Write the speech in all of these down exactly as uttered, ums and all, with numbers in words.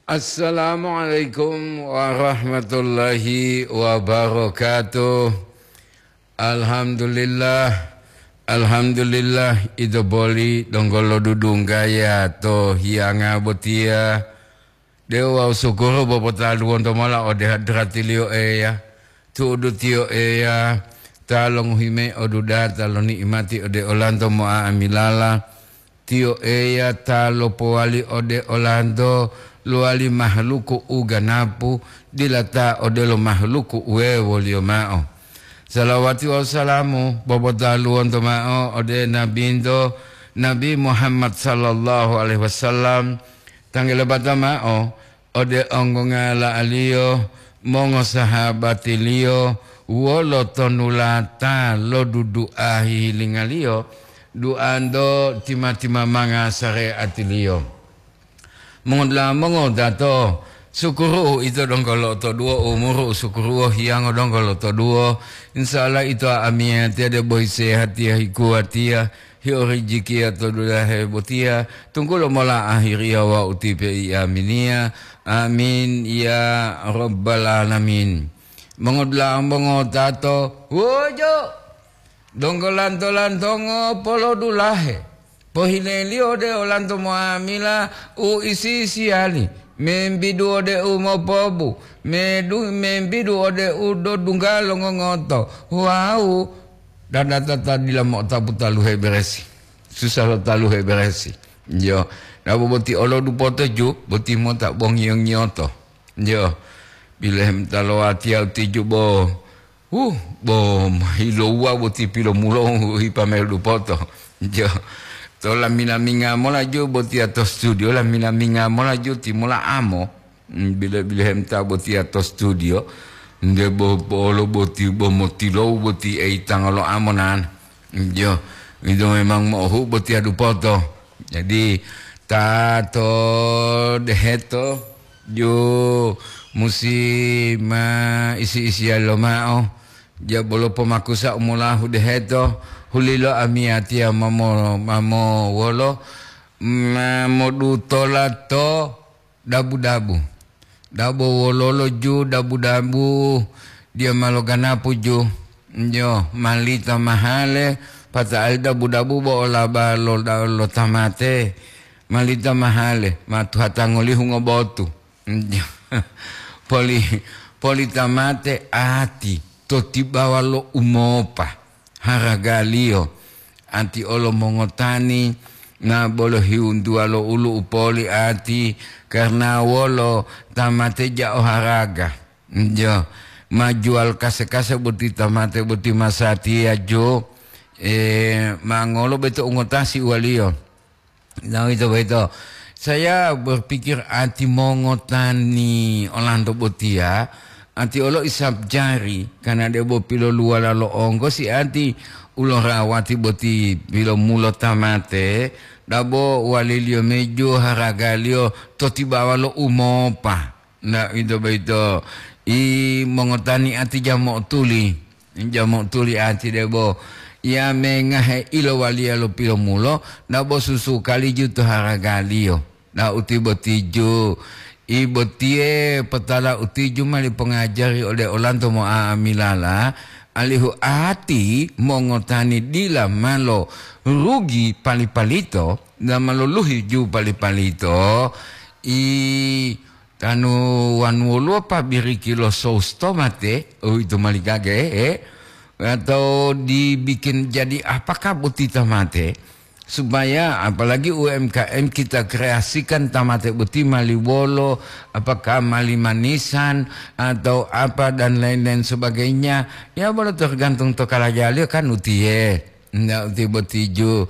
Assalamualaikum warahmatullahi wabarakatuh. Alhamdulillah, alhamdulillah, ito boli donggo lodudunggaya to hiyanga botiya. De'u wawu sukuru bopotaluwonto mola ode hadratiliyo Eya, tu'udu tiyo Eya ta longohi mayi odudata lo ni'imati ode olanto mo'a'amilala. Tiyo Eya ta lopowali ode olanto lowali mahaluku u ganapu, dila ta odelo mahaluku wuwewoliyo ma'o. Salawati wawu salamu bopotaluwonto ma'o ode Nabinto, Nabi Muhammad sallallahu alaihi wasallam, tanggelebata ma'o ode onggongala'aliyo, mongosahabatiliyo, wolo tonulata lo dudu'a hihilingaliyo, duanto tima-timamanga sare'atiliyo. Mongodula'a mongodato, sukuru'u ito donggo lotoduwo, umuru u sukuru'u hiyango donggo lotoduwo. Insya Allah ito amiyatiya debo hisehatiya hikuwatiya, hiyo rijikiya to dulahe botiya, tunggulo mola ahiriya wawu tipe i aminiya. Amin, ya Rabbal Alamin. Mongodula'a mongotato, wojo! Donggo lanto-lantongo polodulahe, pohileliyo ode olanto mo'amila u isi-isiyali, membidu ode u mopobu, medu-, membidu ode u dodungga longongoto, wawu dadata ta dila mo'otapu taluhe beresi, susah lo taluhe beresi. Yo, dabo boti olo dupoto ju, boti mota bongiyo-ngiyoto. Yo, bilehemta lowatiya utiju bo, huh, bo hilouwa boti pilomulo hipamelu dupoto. Yo, to lami-laminga mola ju botiya to studio, lami-laminga mola ju timola amo. Mm, bile-, bilehemta botiya to studio, nde bo-, bo-, olo boti bo motilowu boti eitanga lo amo nana. Yo, ito memang mo'ohu botiya dupoto. Jadi, ta to deheto, ju musi ma isi-isiya lomao, ja bolo pomakusa u molahu deheto, hulilo amiyatiya mamo, mamo wolo, ma modutola to dabu-dabu. Dabo wololo ju dabu-dabu, diya ma loganapu ju. Njo, malita mahale, pata'ali dabu-dabu bo olaba lo, lo tamate. Malita mahale, ma tuhatangolihu ngobotu. Njo. Poli, poli tamate ati, to tibawa lo umopa haragaliyo. Ati olo mongotani, na bolo hiwuntuwa lo ulu u poli ati, karna wolo tamate ja o haraga. Jo, ma juwal kase-kase boti tamate boti masatiya jo, eh, ma ngolo beto ungotasi uwaliyo. Nah, itu begitu. Saya berpikir ati mongotani olanto botiya, ati olo isap jari, karena debo piloluwala lo onggo si ati ulorawati boti pilomulo tamate, dabo waliliyo mejo haragaliyo to tibawa lo umopa. Nah, itu begitu. I mongotani ati jamo tuli. Jamo tuli ati debo, ya mengahe ilowaliya lo pilomulo, na bo susu kaliju to haragaliyo. Na uti botiju, i botiye potala utiju mali pongajari ode olanto mo'amilala, alihu ati mongotani dila malo rugi pali-palito, na malo luhi ju pali-palito, i Tanu wanu woluwo pabiriki lo sous tomate, uwito mali gage, eh? Atau dibikin jadi apakah boti tomate? Supaya apalagi U M K M kita kreasikan tomate boti mali wolo, apakah mali manisan atau apa dan lain-lain sebagainya. Ya, bolo tergantung to kalajaliyo kan utiye. Ndak utiye botiju,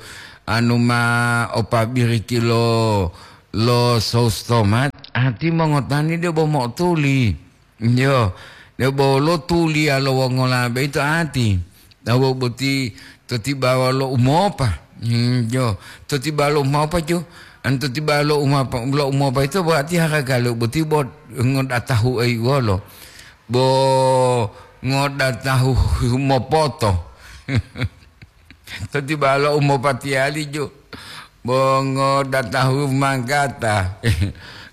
anu ma o pabiriki lo, lo sous tomat, ati mongotani debo mo'otuli. Yo, debo lo tuliya lo wongola boyito ati. Tawu boti to tibawa lo umopa. Hmm, yo, to tibawa lo umopa ju. An to tibawa lo umopa, lo umopa ito bo ati haragalo boti bo ngodatahu ei wolo. Bo ngodatahu mopoto. To tibawa lo umopatiyali ju. Bo ngodatahu manggata.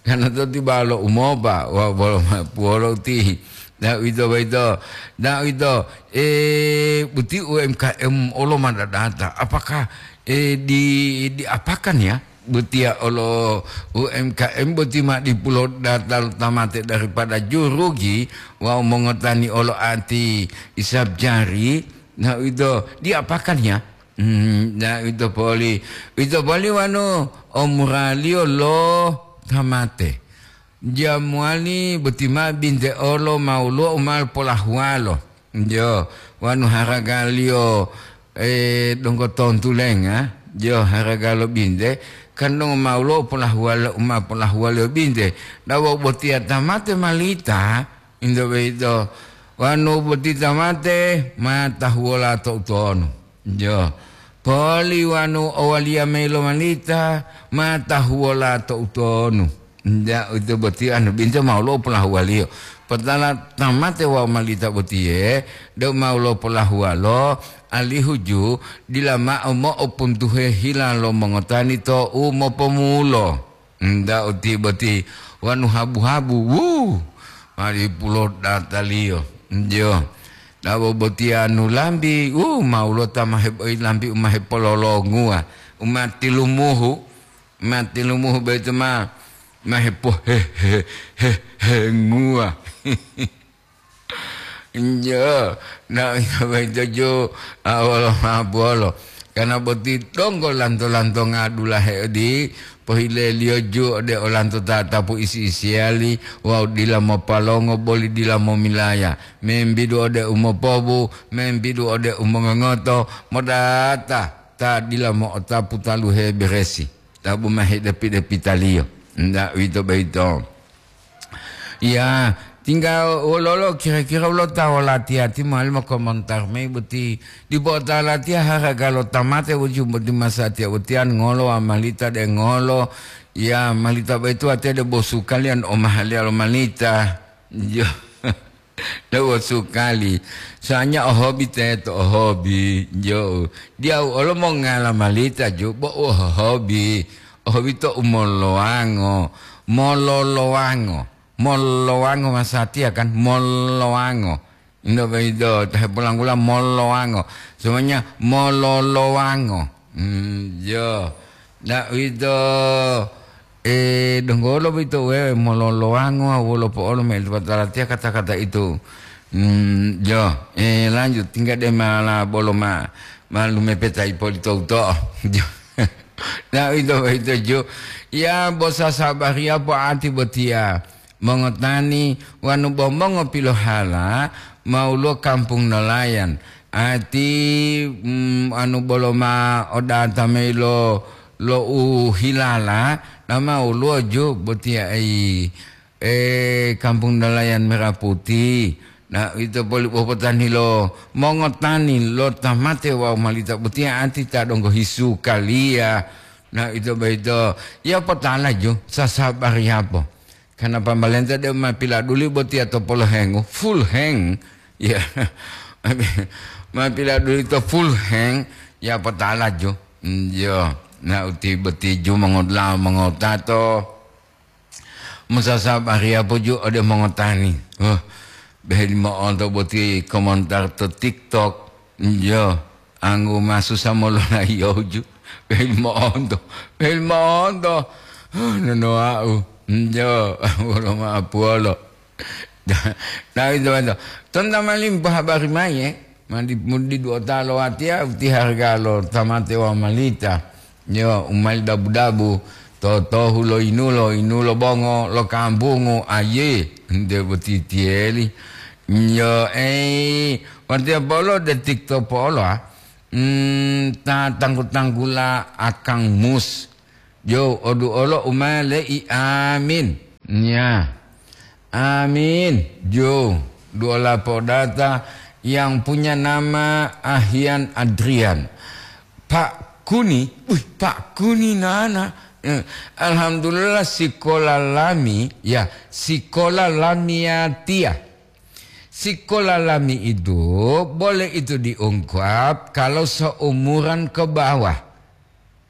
Karena to tibawa lo umopa, wa-, wolo ma-, puwolo uti. Nah, uwito boyito. Nah, uwito, eh, boti U M K M olo ma dadata. Apakah, eh, di, diapakan ya? Botiya olo U M K M boti ma dipulo data lo tamate daripada jurugi wawu mongotani olo ati isab jari. Nah, uwito diapakan ya? Hmm, na uwito poli, uwito poli wanu omuraliyo lo tamate. Jamuwali boti ma binte olo ma woluwo u ma polahuwalo. Jo, wanu haragaliyo, eh, donggo tontulenga. Jo, haraga lo binte, kan donggo ma woluwo polahuwalo, u ma polahuwaliyo binte. Dawa botiya tamate malita, into boyito, wanu boti tamate ma tahuwola to utonu. Jo. Poli wanu owaliya mayi lo malita, ma tahuwola to utonu. Nda uwito boti anu binte ma woluwo polahuwaliyo. Potala tamate wawu malita botiye, deu ma woluwo polahuwalo, alihu ju dila mao mo'opuntuhe hila lo mongotani to u mopomulo. Nda uti boti wanu habu-habu, wu, ma dipulo dataliyo. Njo. Dabo botiya nu lambi, wu, ma woluwo ta ma heboyi lambi u ma hepololonguwa, u ma tilumuhu, ma tilumuhu boyito ma, ma hepo-, he-, he-, he-, henguwa. Njo, na, boyito ju, a, wolo ma bolo. Karena boti donggo lanto-lantonga dulahe odi, pohileliyo ju ode olanto tatapu isi-isiyali wawu dila mopalongo boli dila momilaya, membidu ode u mopobu, membidu ode u mongongoto, modata ta dila mo'otapu taluhe beresi, ta buma hedepi-depitaliyo. Nda uwito boyito. Ya, tingga wololo kira-kira wolo ta wolatiya ti mowali mokomontar mayi boti, dipo ta latiya haraga lo tamate wuju boti masatiya utiyan ngolo wawu malita de ngolo, ya malita boyito watiya de bo sukaliyan omahaliya lo malita. Jo, de bo sukali. Soalnya o hobi teto, o hobi, jo. Diyawu olo mongala malita ju bo u hohobi. Ohowito u mololowango, mololowango, mololowango masatiya kan, mololowango. Indo boyito, ta hepolanggula mololowango. Semuanya mololowango. Hmm, jo. Nda uwito, eh, donggolo boyito wewe mololowango, wolo po'olo meli patalatiya kata-kata itu. Hmm, jo. Eh, lanjut, tingga de mala bolo ma, ma lumepeta ipolito uto'o. Jo. Na uwito boyito ju, ya bo sasabariya po'ati botiya, mongotani wanu bo mongopilohala ma woluwo kampung nolayan, ati, mm, anu bolo ma odata mayi lo, lo u hilala, na ma woluwo ju botiya ei. Eh, kampung nelayan Merah Putih. Na, ito poli popotani lo mongotani lo tamate wawu malita botiya ati ta donggo hisu kaliya. Na, ito boyito, ya potala ju, sasabari yapo. Karena pambalenta de ma piladuli botiya to polohengu, full hang. Ya, ma piladuli to full hang, ya potala ju. Mm, yo, na uti boti ju mongodla mongotato. Mosasabariya poju ode mongotani. Oh, beheli mo'onto boti komentar to TikTok. Njo, anggu masusa mololayiyoju. Beheli mo'onto, beheli mo'onto. Oh, nonoa'u. Njo, wolo ma'apuwolo. Nawi temanto. Tonta mali mopohabari mayi, eh. Mandi, mudi duota lo watiya, uti harga lo tamate wawu malita. Yo, u mali dabu-dabu, totohu lo yinulo, yinulo bongo lo kambungu, aye, nte boti tiyeli. Yo, ei, watiya polo de TikTok polo, ah. Hmm, ta tanggu-tanggula akang mus. Yo, odu olo u ma le'i, amin. Nya. Amin. Jo, duola podata yang punya nama Ahian Adrian. Pak Kuni, wih, Pak Kuni nana. Eh, alhamdulillah sikola lami, ya, sikola lamiatia. Sikola lami itu boleh itu diungkap kalau seumuran ke bawah.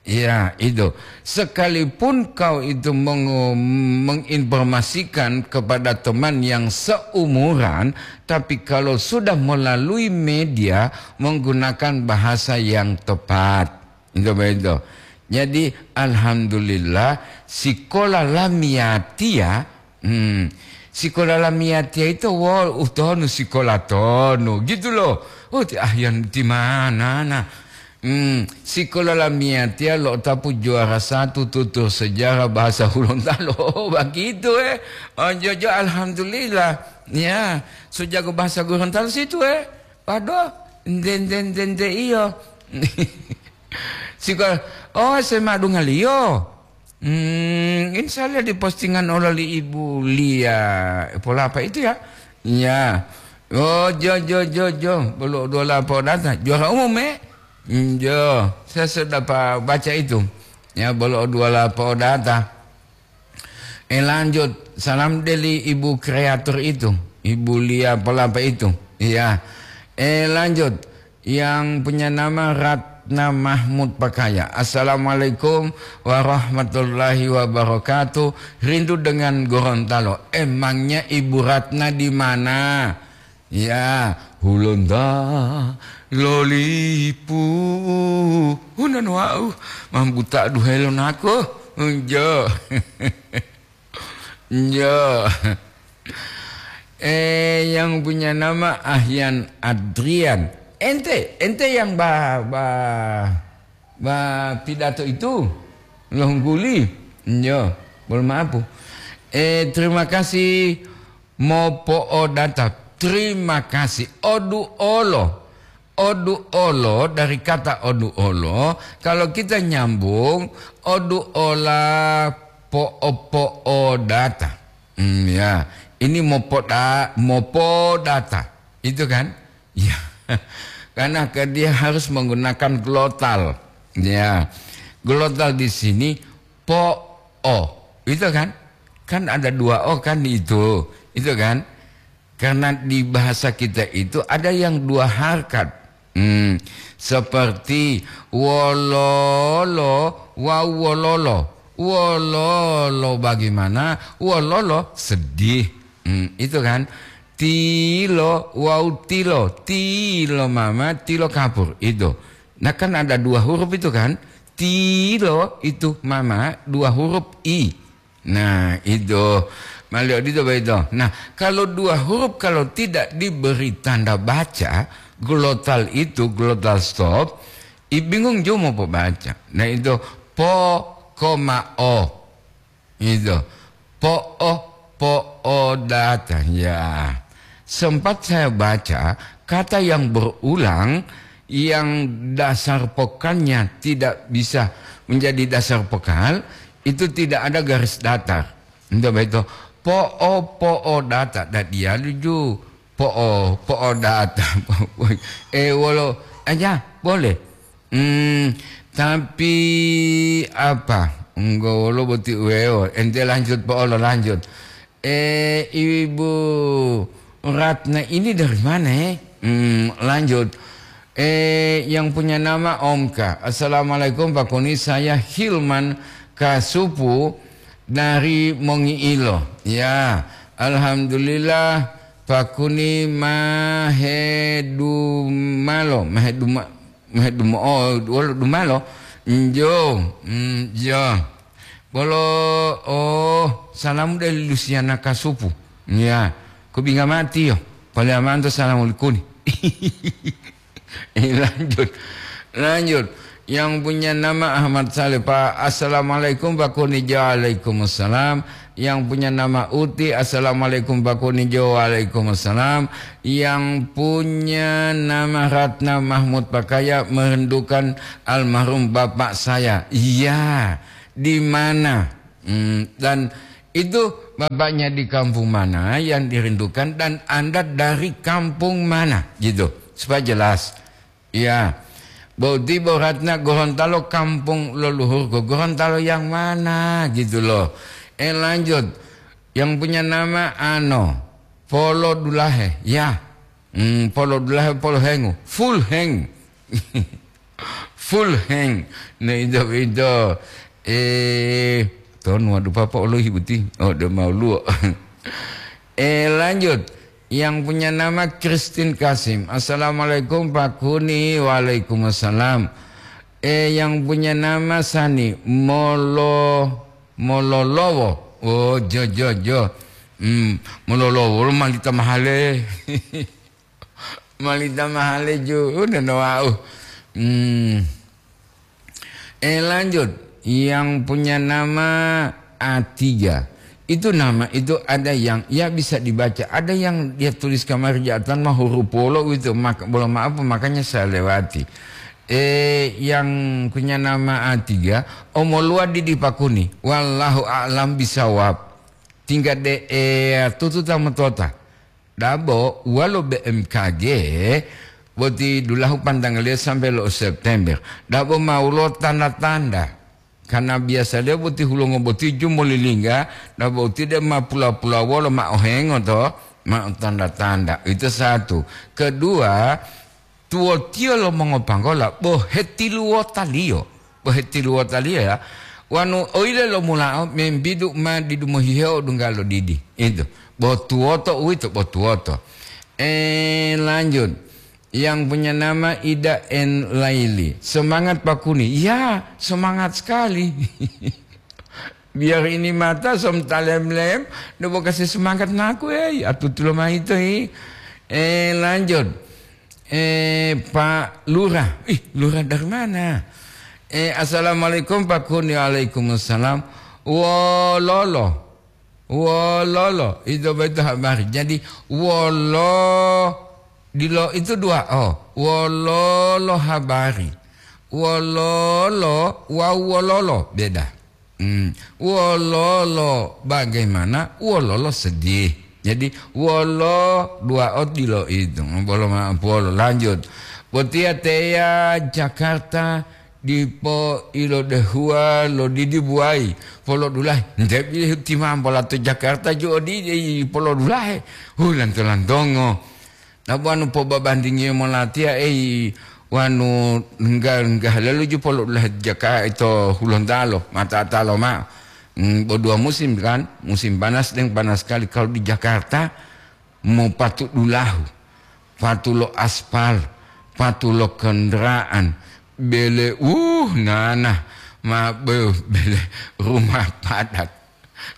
Ya, itu. Sekalipun kau itu meng-, menginformasikan kepada teman yang seumuran, tapi kalau sudah melalui media, menggunakan bahasa yang tepat. Itu begitu. Jadi, alhamdulillah, sikola lamiyatia, hmm, sikola lamiyatia itu, wo, utonu sikola tonu, gitu loh. Oh, ti, ah, yang di mana, nah? Hmm, sikola lamiyatia lo tapu juara satu tutur sejarah bahasa Hulontalo. Begitu, eh. Oh, jojo, alhamdulillah. Ya, so jago bahasa Gorontalo situ, eh. Waduh, nde, nde, nde, nde, iyo. Sikola, oh, saya madungaliyo. Hmm, ini saya lihat di postingan oleh Ibu Lia, pola apa itu ya? Ya. Oh, jo, jo, jo, jo. Bolo dua lapo data. Juara umum, eh? Hmm, jo. Saya sudah pa-, baca itu. Ya, bolo dua lapo data. Eh, lanjut. Salam dari Ibu kreator itu. Ibu Lia pola apa itu? Iya. Eh, lanjut. Yang punya nama Ratna Mahmud Pakaya. "Assalamualaikum warahmatullahi wabarakatuh. Rindu dengan Gorontalo." Emangnya Ibu Ratna di mana? Ya, Hulonta lolipu. Hunan wau, mambuta duhelo nako. Enjo. Enjo. Eh, yang punya nama Ahyan Adrian. Ente, ente yang ba, ba, ba pidato itu, lo hungguli. Enjo, bolo maaf. Eh, terima kasih mopo'odata. Terima kasih. Odu'olo. Odu'olo, dari kata odu'olo, kalau kita nyambung, odu'ola po'o-po'odata. Hmm, ya. Ini mopoda-, mopodata. Itu kan? Ya. Karena ke-, dia harus menggunakan glotal. Ya. Glotal di sini po'o. Itu kan? Kan ada dua o kan di itu. Itu kan? Karena di bahasa kita itu ada yang dua harkat. Hmm, seperti wololo wawu wololo. Wololo bagaimana? Wololo sedih. Hmm, itu kan. Tilo wawu tilo. Tilo mama, tilo kapur. Itu. Nah, kan ada dua huruf itu kan. Tilo itu mama, dua huruf i. Nah, itu. Mali odito boyito. Nah, kalau dua huruf kalau tidak diberi tanda baca, glotal itu, glotal stop, i bingung juga mau baca. Nah, itu po, koma, o. Itu. Po, o, po, o, data. Ya. Sempat saya baca, kata yang berulang, yang dasar pokalnya tidak bisa menjadi dasar pokal, itu tidak ada garis datar. Entah begitu. Po'o, po'o data. Dan dia lucu. Po'o, po'o data. Eh, wolo aja, boleh. Hmm, tapi apa? Enggak, wolo boti uweo. Ente lanjut, po'olo lanjut. Eh, Ibu Ratna ini dari mana, eh? Hmm, lanjut. Eh, yang punya nama Omka. "Assalamualaikum, Pak Koni. Saya Hilman Kasupu dari Mongiilo." Ya, alhamdulillah, Pak Koni mahedumalo, maheduma-, mahedumo-, oh, wolo dumalo. Njo, mm, jo. Bolo, oh, salamu dari Lusiana Kasupu. Ya, kubinga mati yo. Paliamanto salamu likuni. Eh, lanjut. Lanjut. Yang punya nama Ahmad Saleh, Pak. "Assalamualaikum, Pak Kunijo." Waalaikumsalam. Yang punya nama Uti, "Assalamualaikum, Pak Kunijo." Waalaikumsalam. Yang punya nama Ratna Mahmud Pakaya, "Merindukan almarhum bapak saya." Iya, di mana? Hmm, dan itu bapaknya di kampung mana yang dirindukan dan Anda dari kampung mana, gitu. Supaya jelas. Iya. Boti Boratna Gorontalo, kampung leluhurku. Gorontalo yang mana, gitu loh. Eh, lanjut. Yang punya nama Ano. Polo Dulahe. Ya. Hmm, Polo Dulahe, Polo Hengu. Full Heng. Full hang. Nah, itu, itu. Eh, ton waduh papa olohi buti. Oh, udah mau luo. Eh, lanjut. Yang punya nama Christine Kasim. "Assalamualaikum, Pak Kuni." "Waalaikumsalam." Eh, yang punya nama Sani Molo, Mololowo. Oh, jo, jo, jo. Hmm, Mololowo, lo malita mahale. Malita mahale ju, udah no wau. Hmm. Eh, lanjut. Yang punya nama A tiga. Itu nama itu ada yang ya bisa dibaca, ada yang dia tulis kamari jatan mah huruf polo gitu, maka bolo maaf makanya saya lewati. Eh, yang punya nama A tiga, omoluwa didi pakuni. Wallahu a'lam bisawab. Tingkat de eh, tutu tamu tota. Dabo wolo B M K G boti dulahu pantangaliyo sampai lo September. Dabo ma wolo tanda-tanda. Karena biasaliyo boti hulongo boti ju molilingga, dabo uti de ma pula-pula wolo ma ohengo to, ma tanda-tanda. Itu satu. Kedua, tuwotiyo lo mongopanggola bo hetiluwotaliyo, bo hetiluwotaliyo ya, wanu oyile lomulao membidu ma didu mohiheo dungga lo didi. Itu, bo tuwoto uwito, bo tuwoto. Eh, lanjut. Yang punya nama Ida N Laili. "Semangat Pak Kuni." Ya, semangat sekali. Biar ini mata som talem-lem, do bo kasih semangat naku, eh, atutulo maito, eh. Eh, lanjut. Eh, Pak Lurah. Ih, Lurah dari mana? Eh, "Assalamualaikum, Pak Kuni." "Waalaikumsalam." Wololo. Wololo. Itu betul habari. Jadi, wolo, dilo itu dua. Oh, wololo habari. Wololo, wau wololo. Beda. Hmm, wololo bagaimana? Wololo sedih. Jadi, wolo dua ot dilo itu. Bolo ma-, bolo lanjut. Botiya teya Jakarta dipo ilodehuwa lo didi buwayi. Polodulahe. Nte bili timambola to Jakarta ju odidi polodulahe. Hu, lanto-lantongo. Nabo wanu pobabandingiyo molatiya, ei, wanu ngga-, nggahalelu ju polo dulahe jaka ito Hulontalo, mata-atalo ma'o. Mm, bo dua musim kan, musim panas deng panas sekali. Kalau di Jakarta, mopatu dulahu, patu lo aspal, patu lo kendaraan, bele, uh, nana, ma, be-, bele rumah padat.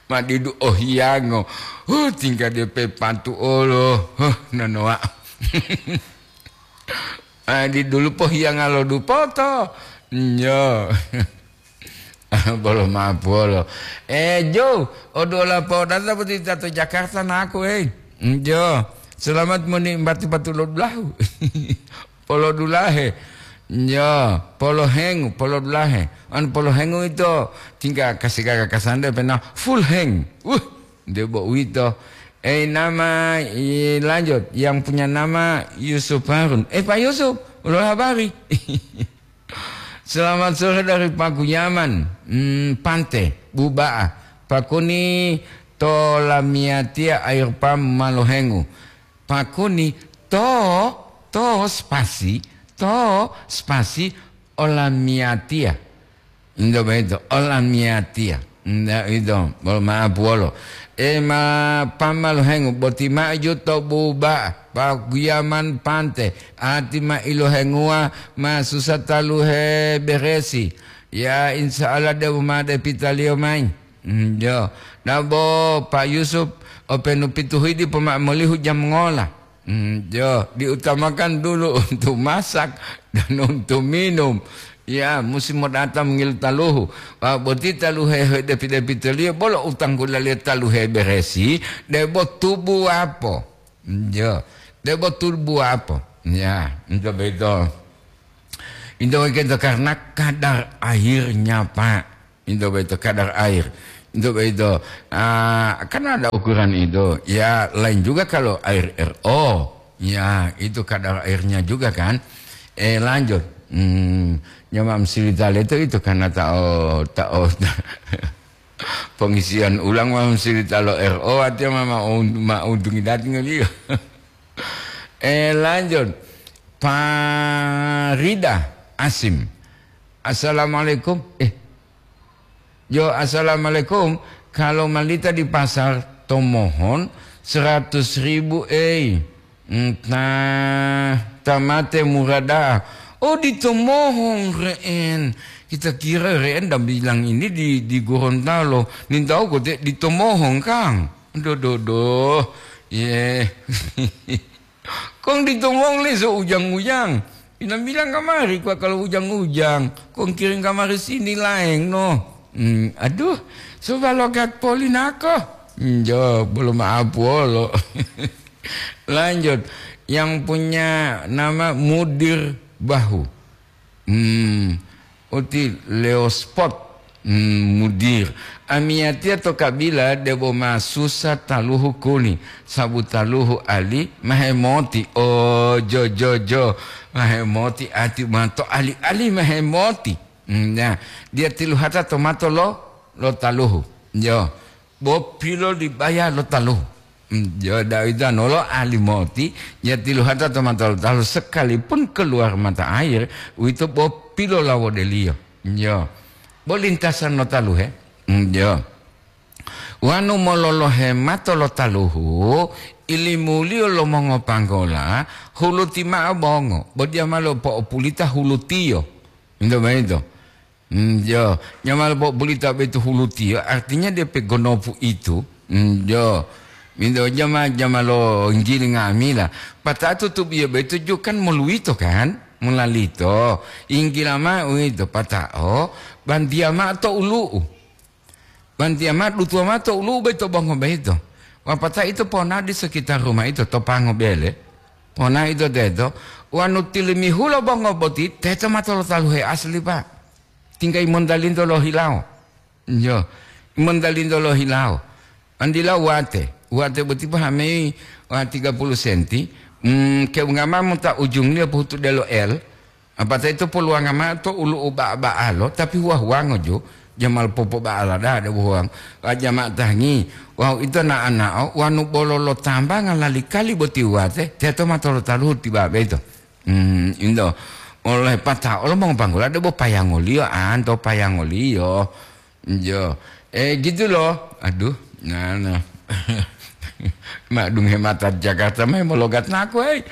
Ma didu ohiyango. Huh, tingga depe pantu olo. Huh, nonoa. Ah, di dulu pohiyanga lo dupoto. Nyo. Bolo mapolo. Eh, Jo, odola podata boti tato Jakarta naku, eh. Njo. Selamat menikmati patu lo dulahu. Polo dulahe. Ya, polo hengu, polo dulahe. An polo hengu ito tingka kasi gaga kasande pena full heng. Wuh, debo uwito. Eh, nama, i, lanjut. Yang punya nama Yusuf Harun. Eh, Pak Yusuf, ulo habari. Selamat sore dari Pakuyaman. Hmm, Pante, Buba'a. Pakuni to lamiyatiya air pam malohengu. Pakuni to, to spasi, to spasi olamiyatiya. Indo boyito, olamiyatiya. Nda ito, bolo ma'apu wolo. E ma pamaluhengu, boti maju to buba, paguyaman pante, ati ma ilohenguwa, ma susa taluhe beresi. Ya, insya Allah, de'u ma depitaliyo mayi. Mm, jo. Nabo Pak Yusuf, openu pituhidi poma'amolihu jam ngola. Mm, jo. Diutamakan dulu untuk masak dan untuk minum. Ya, musim mo datang ngil taluhu. Pak, boti taluhe depi-depitoliyo, bolo utang gulaliyo taluhe beresi, debo tubu apo. Mm, jo. Debo tubu apo. Ya, itu begitu. Itu begitu karena kadar airnya, Pak. Itu begitu kadar air. Itu begitu. Ah, kan ada ukuran itu. Ya, lain juga kalau air R O. Ya, itu kadar airnya juga kan. Eh, lanjut. Hmm, nyamam silitale itu, itu karena tao, tao, pengisian ulang mam silitalo R O, artinya ma, ma, ma untungi dating dia. Eh, lanjut. Farida Asim. Assalamualaikum. Eh, yo, assalamualaikum. Kalau malita di pasar, tomohon seratus ribu, ei. Entah, tamate murada. Oh, ditomohon re'en. Kita kira re'en dan bilang ini di, di Gorontalo. Nintau kote ditomohon, Kang. Doh, doh, doh. Ye. Kong ditomong leso ujang-ujang. Bilang-bilang kamari kwa kalau ujang-ujang. Kong kiring kamari sini laeng no. Hmm, aduh, coba logat poli nako. Hmm, jo, belum maaf wolo. Lanjut, yang punya nama Mudir Bahu. Hmm, uti Leospot, hmm, Mudir. Amiyatiya to kabila debo ma susa taluhu kuni, sabu taluhu ali mahemoti. Oh, jo, jo, jo. Mahemoti ati ma to ali-ali mahemoti. Hmm, ya. Dia tiluhata to mato lo, lo taluhu. Jo. Bo pilo dibaya lo taluhu. Hmm, jo, Daud anolo ahli moti, ya tiluhata to mata lo taluhu sekalipun keluar mata air, uwito bo pilolawodeliyo. Jo. Bo lintasan lo taluhe. Hmm, jo. Wanu mololohe mato lo taluhu, ilimuliyo lo mongopanggola, huluti ma'o bongo, bo diya ma lopo'opulita hulutiyo. Into boyito. Hmm, jo, jama lo bulita boyito hulutiyo, artinya dia pegonopu itu. Hmm, jo. Minto jama, jama lo nggili nga'amila. Pata'o tutup iyo boyito jo kan moluwito kan? Mulalito. Inggila ma'o uwito, pata'o bantiya ma'o to ulu'u. Bantiya ma'o, dutuwa ma'o to ulu'u boyito bongo boyito. Wapata'o ito ponao di sekitar rumah ito to pango bele. Ponao ito teto, wanu tilimihulo bongo boti, teto mato lo taluhe asli, Pak. Tingga imontalinto lohilawo. Yo, imontalinto lohilawo. Andila wate, wate boti pahamei wa tiga puluh senti, mm, keungama mota ujungliyo pohutu delo L, apata ito poluwanga ma'o to ulu'u ba'a-ba'alo, tapi huwa-huwango jo, jamal popoba'ala da'a de bohuwang, wa jama tangi, wawu ito na'o-na'o, wanu bolo lo tambanga lali-kali boti wate, teto mato lo taluhu tibabe ito. Hmm, into. Oleh pata'o lo mongopanggula debo payangoliyo, anto payangoliyo. Jo. Eh, gitu loh. Aduh, nah, nah. Madung hemata Jakarta mah mologat naku, eh.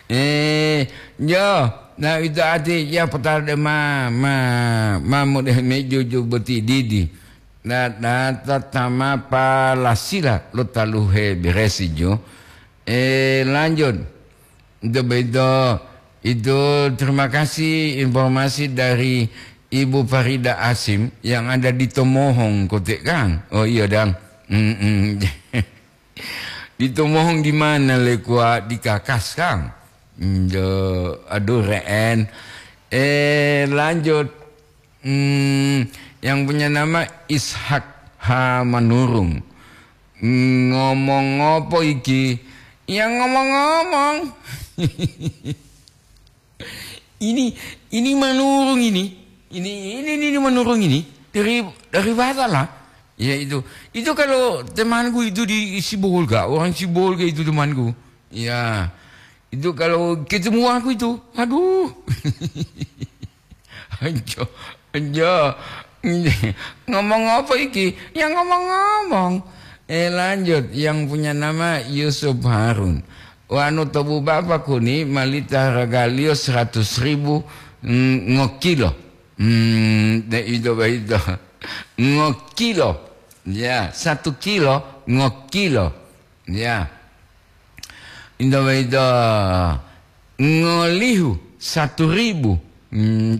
Eh, jo. Nah, itu arti ya potala de ma, ma, ma mudah mejuju boti didi. Nah, nah, tatama palasila lo taluhe beresi jo. Eh, lanjut. Itu begitu. Itu terima kasih informasi dari Ibu Farida Asim yang ada di Tomohong, Kotek, Kang. Oh iya, Dang. Mm-mm. Di Tomohong di mana, le, kuat di Kakas, Kang? Mm, jo, aduh, re'en. Eh, lanjut. Hmm, yang punya nama Ishak H. Manurung. Ngomong apa iki? Ya, ngomong-ngomong. Ini, ini Manurung ini. Ini, ini, ini, ini Manurung ini. Dari, dari Batam lah. Ya, itu. Itu kalau temanku itu di Sibolga, orang Sibolga itu temanku. Ya. Itu kalau ketemu aku itu, aduh. Anjo, anjo. Ngomong apa iki? Ya, ngomong-ngomong. Eh, lanjut, yang punya nama Yusuf Harun. Wanu tobu bapa kuni malita hargaliyo seratus ribu, mm, ngokilo. Hmm, de ito boyito. Ngokilo. Ya, satu kilo ngokilo. Ya. Into boyito ngolihu satu ribu. Hmm,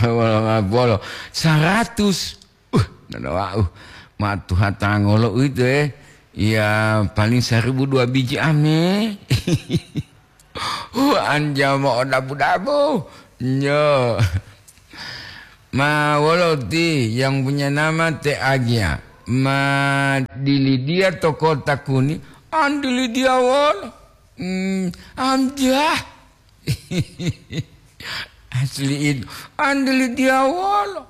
wolo, wolo. Saratus. Uh, nana wa'u. Ma tuha tangolo uwito, eh. Ya, paling saribu dua biji ame. Hu, anja mo'odabu-dabu. Nyo. Ma wolo ti yang punya nama Te Agia. Ma dilidiya to kota kuni. An dilidiya wolo. Hmm, anja. Asli itu. An dilidiya wolo.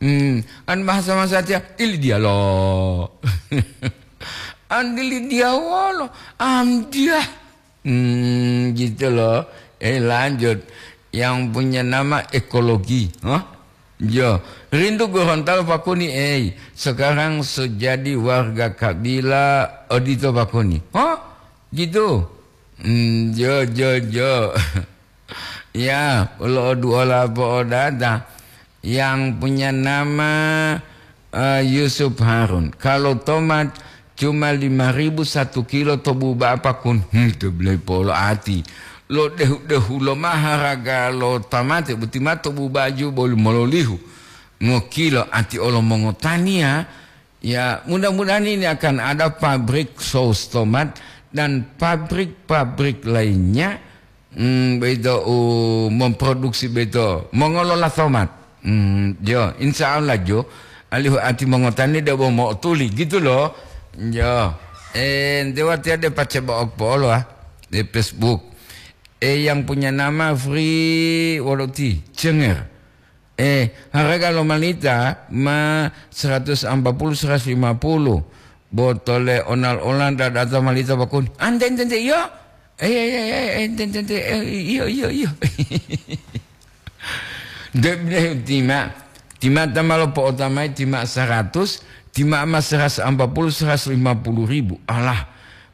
Hmm, an bahasa masatiya, ilidiya lo. An dilidiya wolo. Anja. Hmm, gitu loh. Eh, lanjut. yang punya nama ekologi. Hah? Yo, rindu Gorontalo Pakuni, ei. Sekarang so jadi warga kabila odito Pakuni. Hah? Gitu. Hmm, jo, jo, jo. Ya, ulo oduola po'odata. Yang punya nama, eh, Yusuf Harun. Kalau tomat cuma lima ribu satu kilo to buba'a Pakun. Hmm, to beli polo ati. Lo dehu-dehu lo ma haraga lo tamate, boti ma to buba'a ju boli mololihu. Ngokilo ati olo mongotani ya. Ya, mudah-mudahan ini akan ada pabrik saus tomat dan pabrik-pabrik lainnya, hmm, beito u memproduksi beito, mengelola tomat. Hmm, jo, insya Allah jo, alihu ati mongotani debo mo'otuli, gitu loh. Jo, eh, ndewa tiade pace baok polo, ah, di Facebook. Eh, yang punya nama Free Woloti, Cenger. Eh, harga lo malita ma seratus ampa puluh, seratus lima puluh. Botole onal-onal dadata malita bakun. Ante, ente, ente, iyo. Eh, eh, eh, eh, ente, ente, ente, eh, iyo, iyo, iyo. Debne tima, tima ta ma lopo'otamai tima seratus, tima ma seratus ampa puluh, seratus lima puluh ribu. Alah,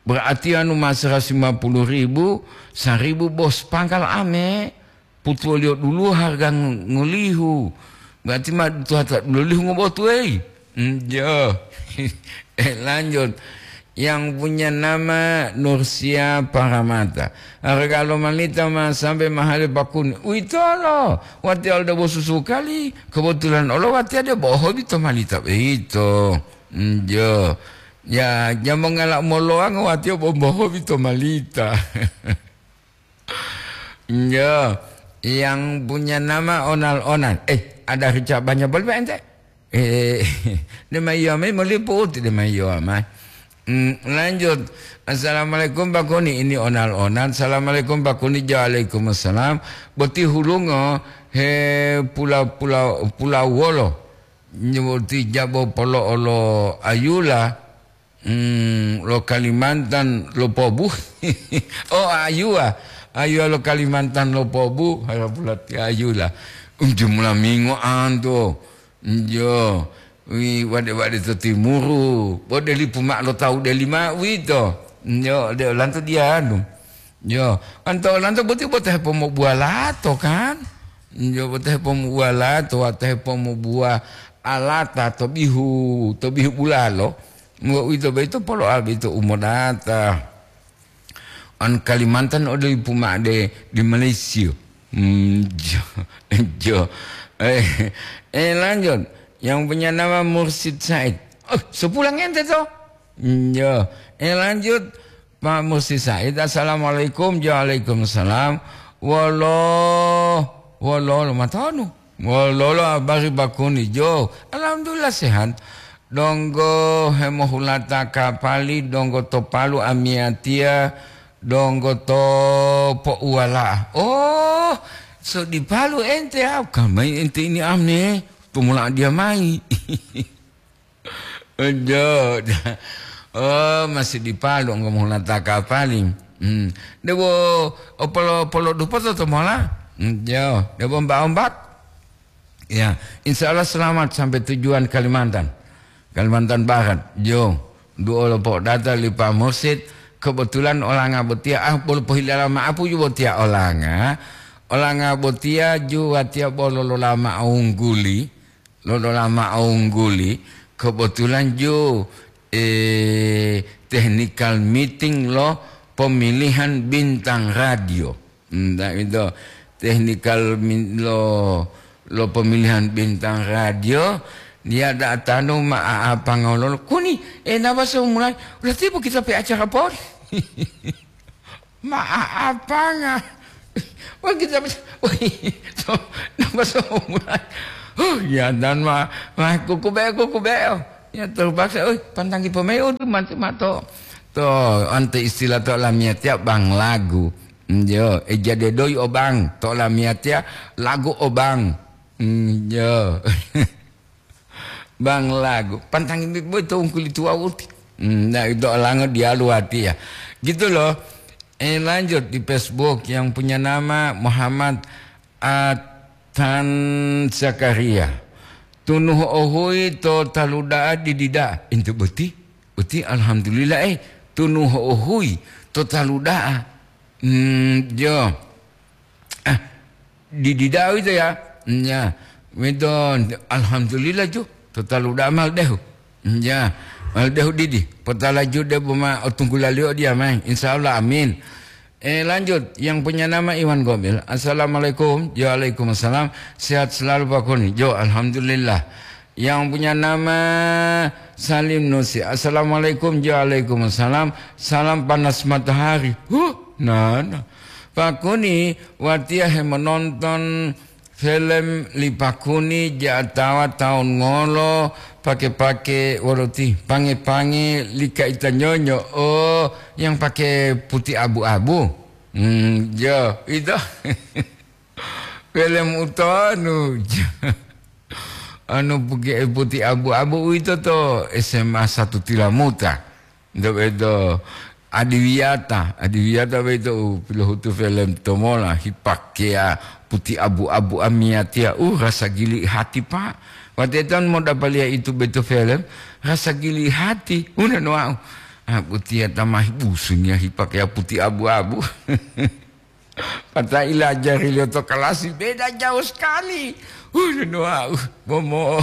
berarti anu ma seratus lima puluh ribu, seribu bos pangkal ame. Putuwoliyo dulu harga ng-, ngolihu. Berarti ma tuhata dulolihu ngobotu, ei. Hmm, jo. Eh, lanjut. Yang punya nama Nursia Paramata. Harga lo malita ma sampai mahali pakuni. Uitolo. Wati alda bosusu kali. Kebetulan olo wati ada bohobi to malita. Beito. Hmm, jo. Ya, jamongala moloang wati bohobi to malita. Iya, yang punya nama Onal-Onal. Eh, ada rica banyak boleh, Pak, ente? Eh, dia mah iya, mai meliputi, dia mah iya, mai. Hmm, lanjut. "Assalamualaikum, Pak Kuni." Ini Onal-Onal. "Assalamualaikum, Pak Kuni." "Waalaikumsalam." Boti hulungo, he, pula, pula, pula wolo. Nyeboti jabo polo olo ayula. Hmm, lo Kalimantan lo pobu. Oh, ayuwa. Ayuwa lo Kalimantan lo pobu. Hara pulati ayula. Um, jumlah mingo anto. Njo. Wi, wade-wade to timuru. Bode lipu mak lo tau deli ma wito. Njo, de lanto dianu. Yo, anto lanto boti bota hepomobuwa lato, kan? Yo, bota hepomobuwa lato, wata hepomobuwa alata to bihu, to bihu bulalo. Ngo uwito boyito polo'a boyito u modata. An Kalimantan ode lipu ma'o de di Malaysia. Hmm, jo, jo. Eh, eh, lanjut. Yang punya nama Mursid Said. Oh, sepulang ente to? Hmm, jo. Eh, lanjut. Pak Mursid Said, assalamualaikum. Waalaikumsalam. Wolo, wolo, lo matonu. Wololo habari bakuni jo? Alhamdulillah sehat. Donggo hemohulata kapali, donggo to Palu amiyatiya, donggo to po'uwala'a. Oh, so di Palu ente, ah, kamai ente ini amne, tumula dia mai. Ojo. Oh, masih di Palu, enggo mohulata kapali. Hmm. Debo opolo, polo dupoto to mola. Hmm, jo, debo ombak-ombak. Ya, insya Allah selamat sampai tujuan Kalimantan. Kalimantan Barat, jo. Duo lopo data lipa mursid. Kebetulan olanga botia, ah, bolo pohilala ma'apu ju botia olanga. Olanga botia ju watia bolo lolama ungguli. Lolola ma'o ungguli, kebetulan ju, eh, technical meeting lo pemilihan bintang radio. Hmm, tak itu. Technical min-, lo, lo pemilihan bintang radio, dia datanu ma apa ngololo. Kuni, eh, napa semulai? Udah tiba kita pe acara pori. Ma'apanga. Wah, kita, wah, to, napa so mulai? Huh, ya, dan ma, ma, kuku be, kuku be. Ya, terpaksa, oi, pantanggi pemain, udah, mati, mato. To, ante istilah to lamia tiap bang lagu. Njo, eh, jadi doi obang, to lamia tiap lagu obang. Njo. Bang lagu, pantang ini boy to ungkuli tua uti. Hmm, nah, itu olango dialu hati ya. Gitu loh. Eh, lanjut di Facebook yang punya nama Muhammad Atan Zakaria. Tunu ho'ohuyi to talu da'a didi da'a. Ento boti, boti alhamdulillah, eh, tunu ho'ohuyi to talu da'a. Hmm, jo. Ah, didi da'a uwito ya. Nya, uwito alhamdulillah jo. To talu da'a ma lodehu. Nya, ma lodehu didi. Potala ju debo ma otunggulaliyo diya mayi. Insya Allah, amin. Eh, lanjut, yang punya nama Iwan Gomil. Assalamualaikum. Waalaikumsalam. Sehat selalu Pak Kuni. Jo, alhamdulillah. Yang punya nama Salim Nusi. Assalamualaikum. Jo, waalaikumsalam. Salam panas matahari. Huh, nah, nah. Pak Kuni, watiya hemononton film li Pak Kuni ja'atawa taun ngolo, pake-pake wolo ti, pange-pange li kaita nyonyo, oh, yang pake putih abu-abu. Hmm, jo, itu. Film utonu. Anu puke-, putih abu-abu uwito to S M A satu Tilamuta. Nto beto adiwiyata, adiwiyata beto u pilohutu film tomola, hipakeya putih abu-abu amiyatiya. Uh, rasa gili hati, Pak. Wateton modapaliya itu beto film, rasa gili hati. Una no wau. Ah, putih tamahi busunya hipakeya putih abu-abu. Pata ilajariliyo to kalasi, beda jauh sekali. Udah, wau, bomo.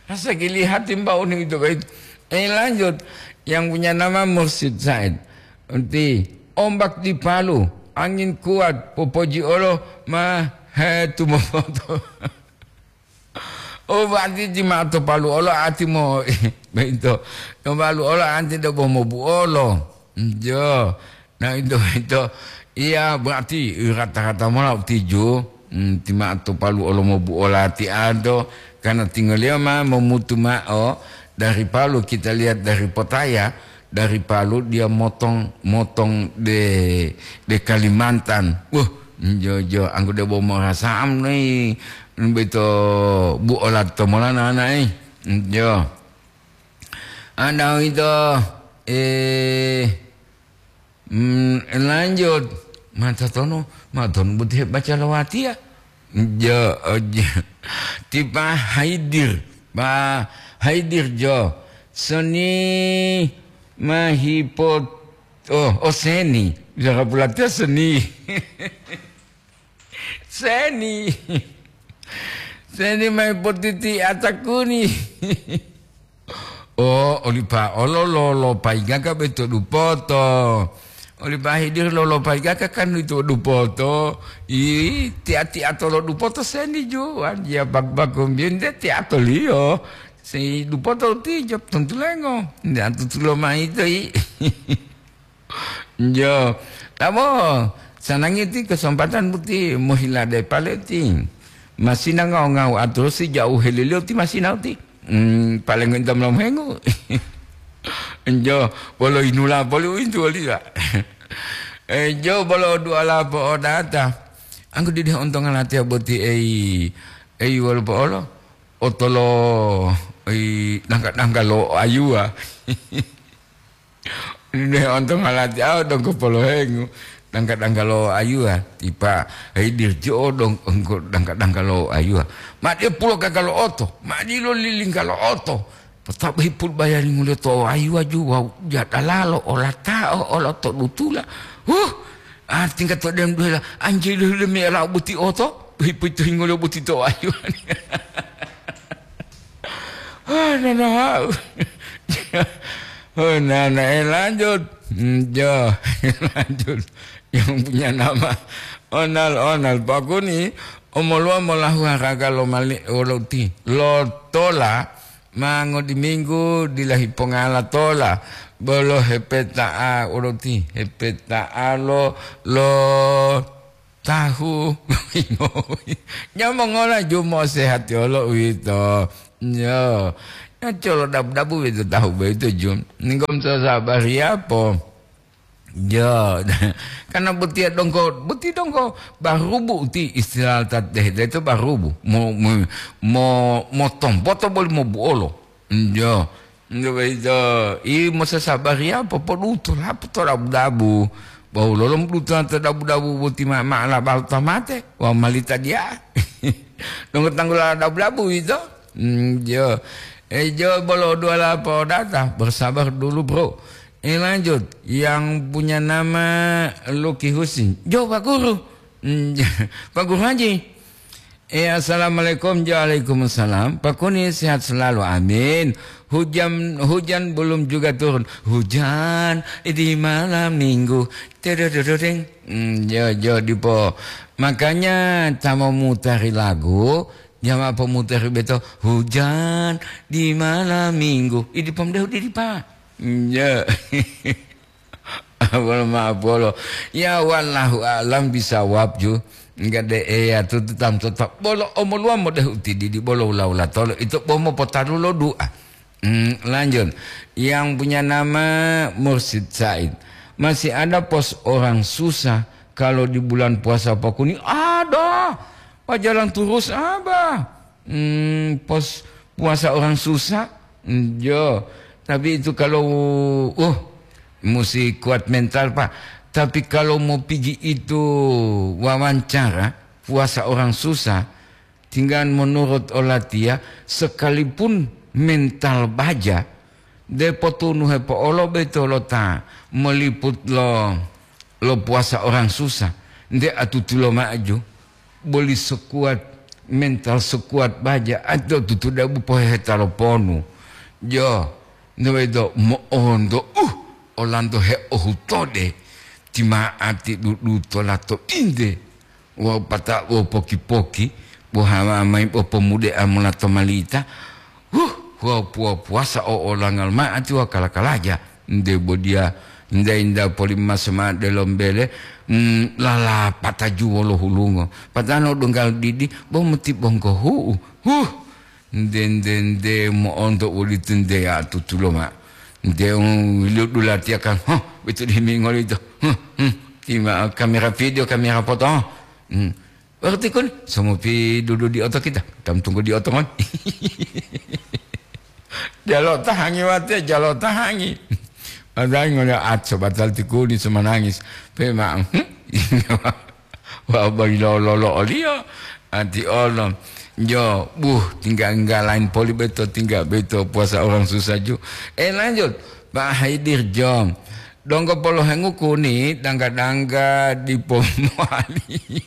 Rasa gili hati mbau nih itu, baik. Eh, lanjut. Yang punya nama Mursyid Said. Nanti ombak di Palu, angin kuat, popoji olo, ma, he, tu mopoto. Oh, berarti ti ma'o to Palu olo ati mo, beito. To Palu olo anti debo mobuolo. Jo. Nah, itu, itu. Iya, berarti rata-rata mola tiju. Hmm, ti ma'o to Palu olo mobuola ti ado. Karena tinggal dia ma memutu ma'o dari Palu, kita lihat dari Potaya. Dari Palu dia motong, motong de, de Kalimantan. Wah, jo, jo, anggo debo morasa'am nei, beto bu olat to molana nai. Jo. Ada itu, eh, mm, lanjut. Mata tono, mata tono buti baca lawatia. Jo, jo. Tipa haidir. Ba haidir jo. Seni mahipot-, oh, oh, seni. Bisa kapulatiya seni. Seni. Seni mahipotiti atakuni. Oh, olipa olo lo, lo paigaka beto dupoto. Oli bahidir lolopai kaka kan itu dupoto. Ih, tia-tia tolo dupoto seni juwan. Ya bak-, bakumbien de tia toliyo. Si dupoto ti jop tontulengo. Nda tutulo mai to i. Jo. Tabo, sanangi ti kesempatan buti mohila de pale ti. Masina ngau-ngau aturusi jauh helilio ti masina ti. Hmm, paling enta molomuhengu. Enjo, bolo inula poli uwintu woliya. Enjo, bolo duala po'odata. Anggo didi ontonga latiya boti ei, ei wolo po'olo. Otolo ei dangka-dangka lo ayuwa. Didi ontonga latiya, aw, donggo polohengu. Dangka-dangka lo ayuwa, tipa, hei dirji'o dong-, dangka-dangka lo ayuwa. Ma diya pulo gaga lo oto, ma dilo lilingga lo oto. Potaba hipul bayari ngule to ayuwa ju wawu jadalalo olata'o olo to dutula. Huh! Ah, tingga to dem duhela, anjili hule me lao buti oto, hipu itu hingolo buti to ayuwa. Ah, nana hau. Oh, nana, eh, lanjut. Hmm, jo, lanjut. Yang punya nama Onal, Onal Pakuni, omoluwa molahu haraga lo mali, lo ti, lo tola, mango di minggu, dilahi pongala tola, bolo hepeta'a, lo ti, hepeta'a lo, lo tahu. Nyamongola jumo sehati olo uwito. Nyo. Ya colo dabu-dabu uwito tahu boyito jum. Ninggom sasabari apo? Ya, karena botiya dongko, boti dongko barubu ti istilah tat deh, itu barubu. Mo, mo, mo, mo tompoto boli mo buolo. Njo. Njo boyito, i mosasabari apo poduto lapo to dabu-dabu. Wawu lolom dutola to dabu-dabu boti ma, ma labalo ta mate, wawu malita diya. Donggo tanggula dabu-dabu yito. Hmm, jo. Eh, jo bolo dua la podata. Bersabar dulu, Bro. Eh, lanjut. Yang punya nama Lucky Husin. Jo, Pak Guru. Hmm, Pak Guru Haji. Eh, assalamualaikum. Waalaikumsalam. Pak Kuni sehat selalu. Amin. Hujan, hujan belum juga turun. Hujan di malam minggu. Tedodododeng. Hmm, jo, jo, dipo. Makanya ta mau mutari lagu, jama pomutari beto. Hujan di malam minggu. Idi pom dehu didi, Pak. Hmm, jo. Bolo ma'o bolo. Ya, wallahu a'lam bisawab ju. Enggak de eya tutu tam tetap. Bolo omoluwa modeh utididi bolo ula-ula tolo. Itu bomo potaru lo doa. Hmm, lanjut. Yang punya nama Mursid Said. Masih ada pos orang susah kalau di bulan puasa Pak Kuni? Ada. Pak jalan terus, Abah. Hmm, pos puasa orang susah? Hmm, jo. Tapi itu kalau, uh, musti kuat mental, Pak. Tapi kalau mau pigi itu wawancara, puasa orang susah, tinggal menurut olatia, sekalipun mental baja, de potunu hepo'olo beto lo ta meliput lo, lo puasa orang susah. Nde atutulo maju, boli sekuat, mental sekuat baja, ado tutu dabu poheheta lo ponu. Jo, nde wedo mo'onto, uh, olanto heohutode, tima'ati dudutola to inde. Wawu pata wo poki-poki, bo hawa mayi bo pomude'a mola to malita, huh, wawu puwa-puwasa o olangal ma'ati wawu kala-kalaja, nde bo diya nda-inda poli maso ma'o delombele, mm, lalapata juwolo hulungo. Patano donggal didi, bo moti bonggohu'u, huh, Nde, nde, nde mo'onto uwolitu nde ya tutulo ma. Nde, um, wiliyo dulatiya kan, huh, betu demi ngolito. Huh, hmm, tima kamera video, kamera foto. Hmm. Waktu kun, somopi dudu di oto kita. Tam tunggu di oto ngon. Jalo tahangi wate, jalo tahangi. Matangi ngole at sobatal tikuni semanangis. Pe ma, hmm? Wa bagi lolo-lolo oliyo, ati olo. Jo, buh, tingga enggak lain poli beto, tingga beto puasa orang susah ju. Eh, lanjut. Pak Haidir Jom. Donggo polohengu kuni, dangga-dangga dipo mowali.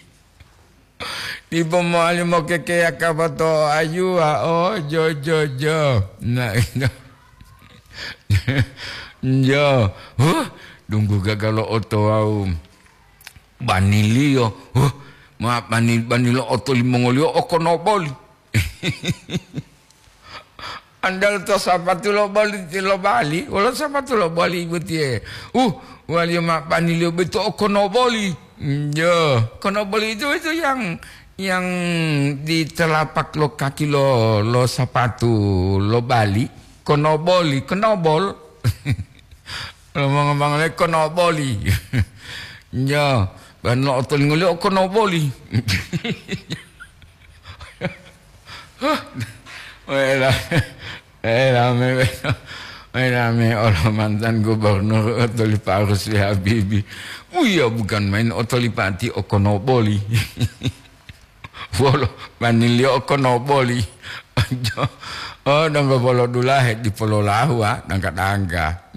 Dipo mowali mokekeya kapato ayuwa, oh, jo, jo, jo. Nah, itu. Jo. Huh, dunggu gagalo oto wau. Baniliyo, huh, ma bani-, banilo oto limongoliyo okonoboli. Andal to sapatu lo boli ti lo bali, wolo sapatu lo boli botiye. Uh, waliyo ma baniliyo beto okonoboli. Jo, konoboli itu, itu yang, yang di telapak lo kaki lo, lo sapatu lo bali, konoboli, konobol. Ngomong-ngomong le konoboli. Nyo, ban lo otolingoliyo konoboli. Wela, wela me, wela me olo mantan gubernur otoli Pak Rusli Habibi. Uya bukan main otoli pati o konoboli. Wolo, maniliyo konoboli. Oh, donggo polo dulahe dipololahu, ah, dangka-dangka.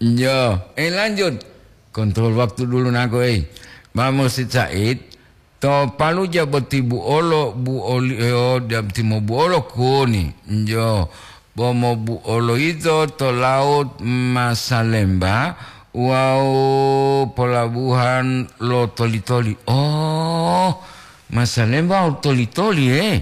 Nyo, eh, lanjut. Kontrol waktu dulu nako, eh. Pak Mursid Said, to Paluja boti buolo, buoli, eh, oh, dam timo buolo kuni. Njo, Bomo buolo yito to laut Masalemba wawu polabuhan lo toli-toli. Oh, Masalemba wawu toli-toli, eh.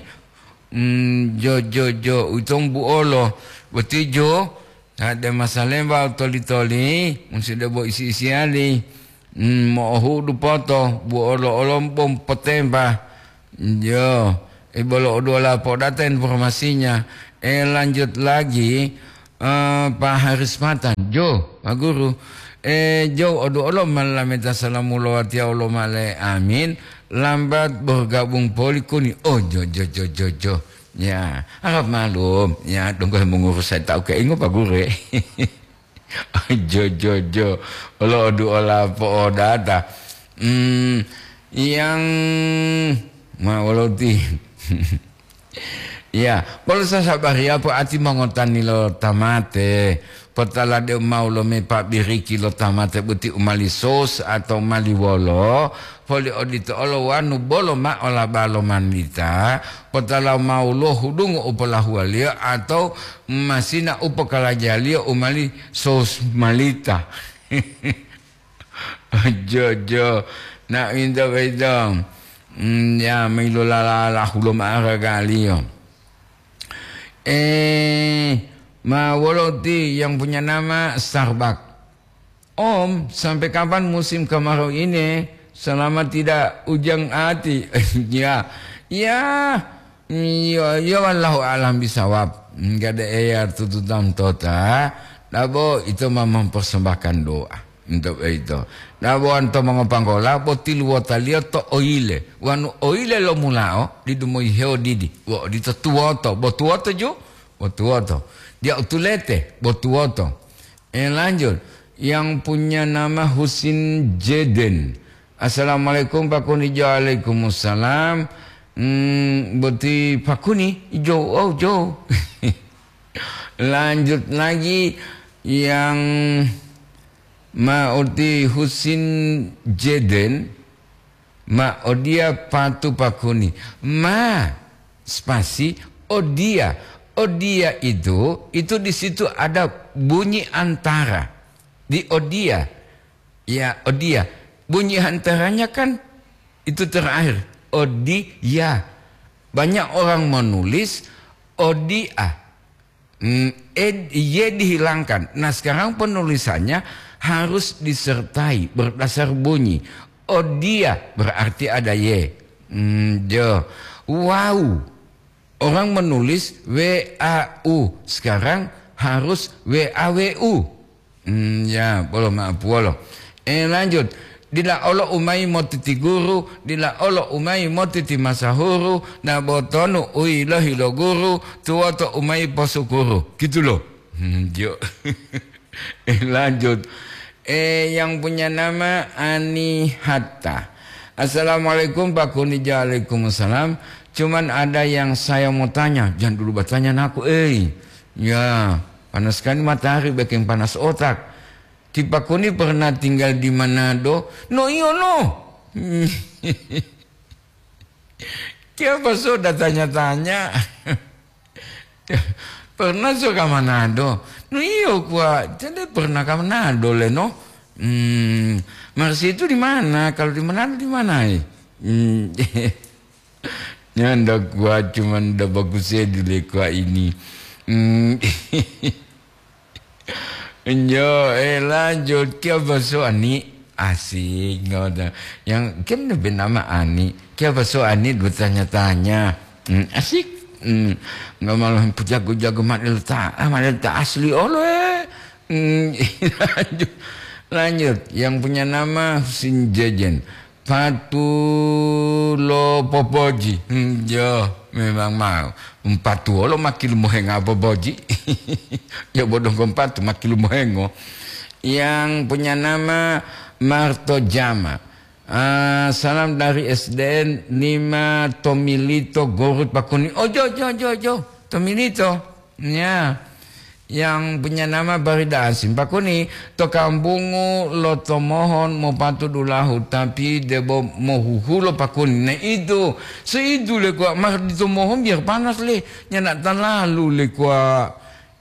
Mm, jo, jo, jo, utong buolo. Boti jo, ade Masalemba wawu toli-toli, musi debo isi-isiyali. Mm, mo'ohudu poto, buolo olo bom potemba. Yo, eh, bolo oduwola podata informasinya. Eh, lanjut lagi, eh, Pak Haris Matan. Jo, Pak Guru. Eh, jo, odu olo malameta salamu lo watiya olo male. Amin. Lambat bergabung poli kuni. Oh, jo, jo, jo, jo, jo. Ya, harap maklum. Ya, donggo mengurus saya tahu ke ingo, Pak Guru, eh. Jo, jo, jo. Olo odu ola po'odata. Hmm, yang ma woloti. Ya, polu sasabariya po ati mongotani lo tamate. Potala deu mau lo me pabiriki lo tamate buti umali sos atau mali wolo. Poli odito olo wanu bolo ma'o laba lo manlita, potala mau lo hudungu u polahuwaliyo atau masina u pokalajaliyo u mali sosmalita. Jo, jo, na winto boyito, mm, ya, ma ilolala hulo ma'aragaliyo. Eh, ma wolo ti yang punya nama Starbucks? Om, sampai kapan musim kemarau ini? Selama tidak ujang ati. Ya, ya, ya, ya, wallahu alam bisawab. Enggak ada eyar tututan tota. Dabo itu mah mempersembahkan doa untuk itu. Dabo anto mongopanggola botiluwotaliyo to oile. Wanu oile lo mulao didumoyi heo didi. Wo odito tuwoto, bo tuwoto ju, bo tuwoto. Dia utulete, bo tuwoto. Eh, lanjut. Yang punya nama Husin Jeden. "Assalamualaikum, Pak Kuni." "Waalaikumsalam." Hmm, boti Pak Kuni, jo, oh, jo. Lanjut lagi yang ma uti Husin Jeden. Ma odia patu Pak Kuni. Ma, spasi, odia. Odia itu, itu di situ ada bunyi antara. Di odia. Ya, odia. Bunyi antaranya kan itu terakhir. Odia. Banyak orang menulis odia. Hmm, ed-, Y dihilangkan. Nah, sekarang penulisannya harus disertai berdasar bunyi. Odia berarti ada Y. Hmm, jo. Wau. Orang menulis W A U. Sekarang harus W A W U. Hmm, ya, bolo ma'apuwolo. Eh, lanjut. Dila olo umayi motiti guru, dila olo umayi motiti masahuru, na botonu u yilohi lo guru, tuwoto umayi posukuru. Gitu loh. Hmm, jo. Eh, lanjut. Eh, yang punya nama Ani Hatta. "Assalamualaikum, Pak Kuni." "Waalaikumsalam. Cuman ada yang saya mau tanya." "Jangan dulu bertanya, naku, eh." Ya, panas sekali matahari, bikin panas otak. "Ti Pak Kuni pernah tinggal di Manado?" "No, iyo, no." "Kenapa so tanya-tanya?" "Pernah so ka Manado?" "No, iyo, kuwa, jadi pernah ka Manado le, no." "Hmm, Mersi itu di mana? Kalau di Manado di mana, eh?" Hmm. Nyanda kuat, cuman nda bagus ya dile kuat ini. Hmm. Njo, eh, lanjut ke baso ani. Asik, ngoda. Yang kan lebih nama ani. Ke baso ani bertanya-tanya. Hmm, asik. Hmm. Nggak malah jago-jago mak letak, ah, mak letak asli olo, eh. Hmm, lanjut. Lanjut. Yang punya nama Husin Jejen. Patu lo popoji. Hmm, jo, memang mau. Patu lo makilumohenga popoji. Ya, bodong kompatu makilumohengo. Yang punya nama Marto Jama. Ah, salam dari S D N lima Tomilito, Gorut, Pakuni. Oh, jo, jo, jo, jo. Tomilito. Ya. Yang punya nama Barida Asim, Pakuni, to kampungu lo tomohon mopatu dulahu, tapi debo mohuhulo, Pakuni. Nah, itu, seitu le kuwa, mar dito mohon biar panas le, nyana talalu le kuwa,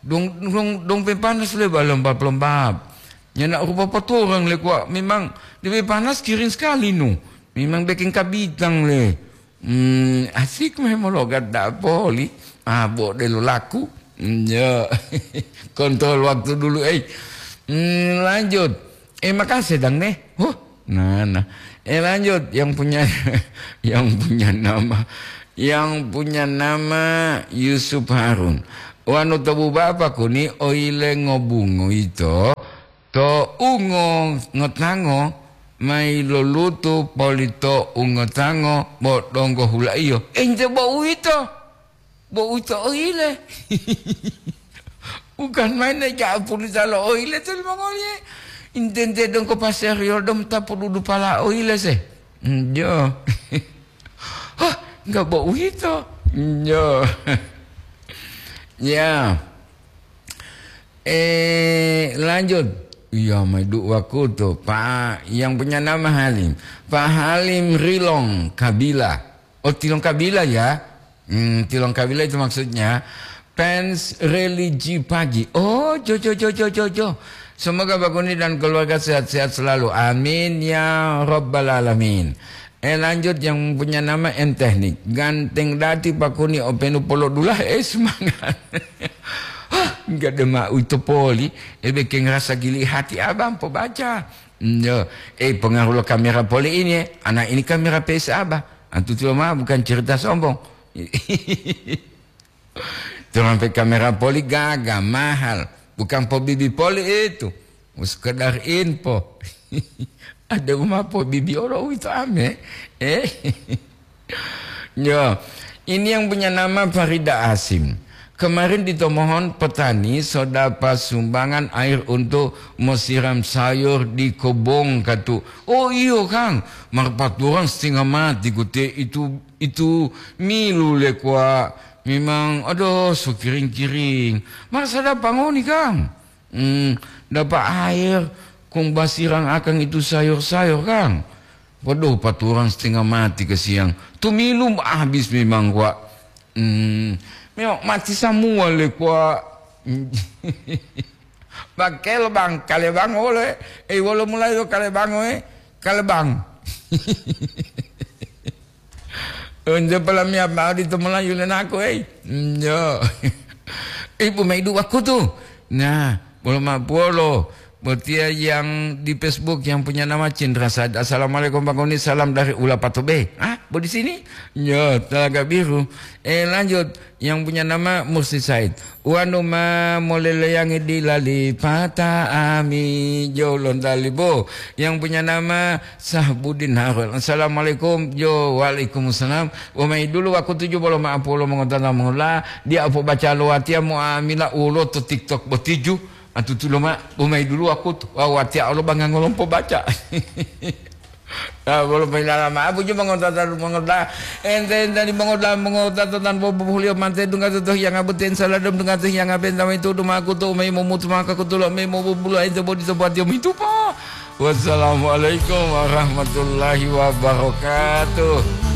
dong, dong, dong pe panas le ba lembab-lembab. Nyana rupa poturang le kuwa, memang lebih panas kering sekali nu. Memang bikin kabitang le. Hmm, asik memang logat da'a poli. Ah, bo delo laku. Hmm, ya. Kontrol waktu dulu, eh. Hmm, lanjut. Eh, makasih dang deh. Huh. Nah, nah. Eh, lanjut. Yang punya, yang punya nama, yang punya nama Yusuf Harun. Wanu tobu bapa kuni oile ngobungu ito. To ungo ngotango mayi lolutu polito ungotango bo donggo hulaiyo. Ente bo uwito, bo uwito oyile. Bukan main, ja pulita lo oile to limongoliye. Intente dongko paseriol dong tapuludu pala oile se. Njo. Hah, enggak bau itu. Njo. Ya. Eh, lanjut. Iya, mai du wakutu. Pak, yang punya nama Halim. Pak Halim Rilong Kabila. Oh, Tilong Kabila ya? Hmm, Tilong Kabila itu maksudnya fans religi pagi. Oh, jo, jo, jo, jo, jo, jo. Semoga Pak Kuni dan keluarga sehat-sehat selalu. Amin ya rabbal alamin. Eh, lanjut yang punya nama M Teknik. Ganteng dati Pak Kuni openu polo dulah, eh, semangat. Hah, enggak ada mau itu poli. Eh, bikin rasa gili hati abang po baca. Yo, eh, pengaruh lo kamera poli ini, eh. Anak ini kamera P S abah. Antu tuh mah bukan cerita sombong. Turun pe kamera poli gaga, mahal. Bukan po bibi poli itu. Sekedar info. Ada uma po bibi olo uwito ame. Eh. Yo, ini yang punya nama Farida Asim. Kemarin ditomohon petani so dapat sumbangan air untuk mesiram sayur di kebun katu. Oh iyo, Kang, marpaturan setengah mati kute itu, itu milu le kwa. Memang, aduh, so kiring-kiring. Masa dapat ngoni, Kang? Hmm, dapat air, kong basirang akang itu sayur-sayur, Kang. Waduh, paturan setengah mati ke siang. Tumilu habis memang, kwa. Hmm, memang mati semua le, kwa. Pakai lebang, kalebang ole. Eh, wolo mulai lo kalebang, eh. Kalebang. Unjo palamiya mao ditu Melayu lenaku, ei. Njo. Ibu maidu wakutu. Nah, bolo ma puolo. Botiya yang di Facebook yang punya nama Cindra Said. "Assalamualaikum, Bang Oni. Salam dari Ulapato Bay." Ah, bo di sini? Njo, Telaga Biru. Eh, lanjut. Yang punya nama Mursi Said. Wanu ma moleleyangi dilali pata ami jolon dalibo. Yang punya nama Sahbudin Harun. "Assalamualaikum." Jo, waalaikumsalam. Umai dulu wakutu ju bolo maapolo mongotata mongola. Dia apo baca lo watia mo amila ulo to TikTok botiju. Atutulo ma, umai dulu wakutu. Wa watia olo banga ngolompo baca. Ah, bolo mailala ma apu ju mongotata mongola. Ente-ente di mongola mongotata tan bobo hulio mante dunga to hiyanga buten saladem dunga to hiyanga benta mai tudu ma kutu umai momutu maka kutulo mai mobubula ente bodi to batio mitupa. Wassalamualaikum warahmatullahi wabarakatuh.